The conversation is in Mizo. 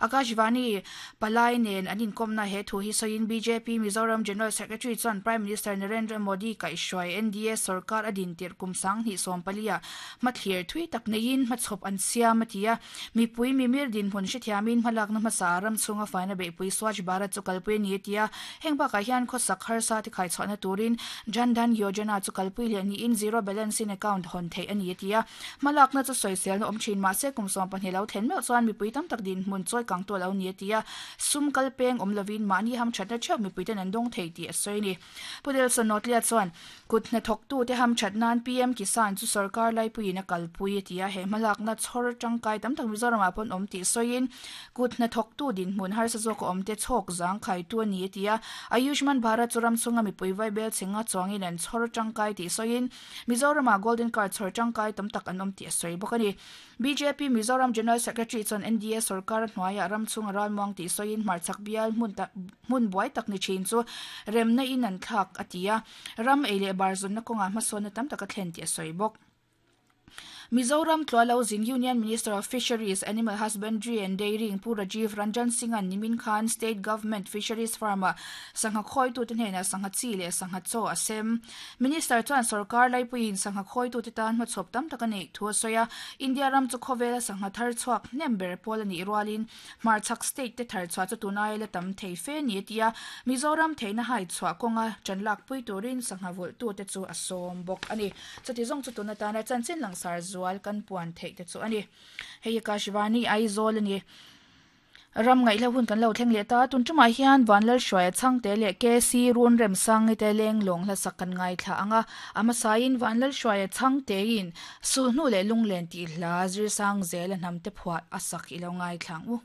Akashvani Palai nen an inkawmna he thu hi sawiin bjp Mizoram General Secretary chuan Prime Minister Narendra Modi kaihhruai NDA sorkar a din tirh kum 2014 ah hmathlir thui tak neiin hmachhawp an siam a ti a. Mipui mimir dinhmun hrethiamin hmalakna hmasa ram chhunga faina beihpui Swachh Bharat chu kalpui a ni a ti a. Heng bakah hian khawsak harsa te khaichhuahna turin Jan Dhan Yojana chu kalpui leh niin Zero Balance in Account hawn theih a ni a ti a. Hmalakna chu sawiselna awm thin mahse kum 12 lo thlen meuh chuan mipui tam tak dinhmun chawi kang tu a lo ni a ti a. Sum kal peng awm lovin mahni hamthatna theuh mipuiten an dawng thei tih a sawi a ni. Pu Nelson Nawtlia chuan kut hnathawktute hamthat nan PM Kisan chu sorkar laipuiin a kalpui a ti a, he hmalakna chhawr tangkai tam tak Mizoramah pawn awm tih sawiin kut hnathawktu dinhmun harsa zawk a awmte chhawk zang khaitu a ni a ti a. Ayushman Bharat chu ram chhunga mipui vaibel chhenga chuangin an chhawr tangkai tih sawiin Mizoramah Golden Card chhawr tangkai tam tak an awm tih a sawi bawk a ni. Bjp Mizoram General Secretary chuan NDA sorkar hnuaiah ram chhunga ralmuang tih sawiin hmarchhak bial hmun tak hmun buai tak ni thin chu remna in an thlak a ti a, ram ei leh bar zawnna kawngah hmasawnna tam tak a thlen tih a sawi bawk. Mizoram Tlualo Zin Union Minister of Fisheries, Animal Husbandry and Dairying Pu Rajiv Ranjan Singh-a'n nimin khan State Government Fisheries Farm-ah sangha khawitute hnenah sangha chi leh sangha chaw a sem. Minister chuan sorkar laipuiin sangha khawitute tan hmachhawp tam tak a neih thu a sawi a, India ram chu khawvela sangha thar chhuak hnem ber pawl a nih rualin hmarchhak state te thar chhuah chu tunai la tam thei fe ni a ti a, Mizoram theihna hai chhuah kawnga ṭan lakpui turin sangha vulhtute chu a sawm bawk a ni. Chuti zawng chu tun atana chanchin langsar zual kan puan theih te chu a ni. Hei hi Kashvani Aizawl a ni. Ram ngaihla hun kan lo thleng leh ta. Tun tumah hian Vanlalhruaia Chhangte leh KC Runremsangi te lenglawng hlasak kan ngaithla ang a. A hmasain Vanlalhruaia Chhangtein Sulhnu leh Lunglen tih hla Zirsang zela hnamte phuah a sak i lo ngaithla ang u.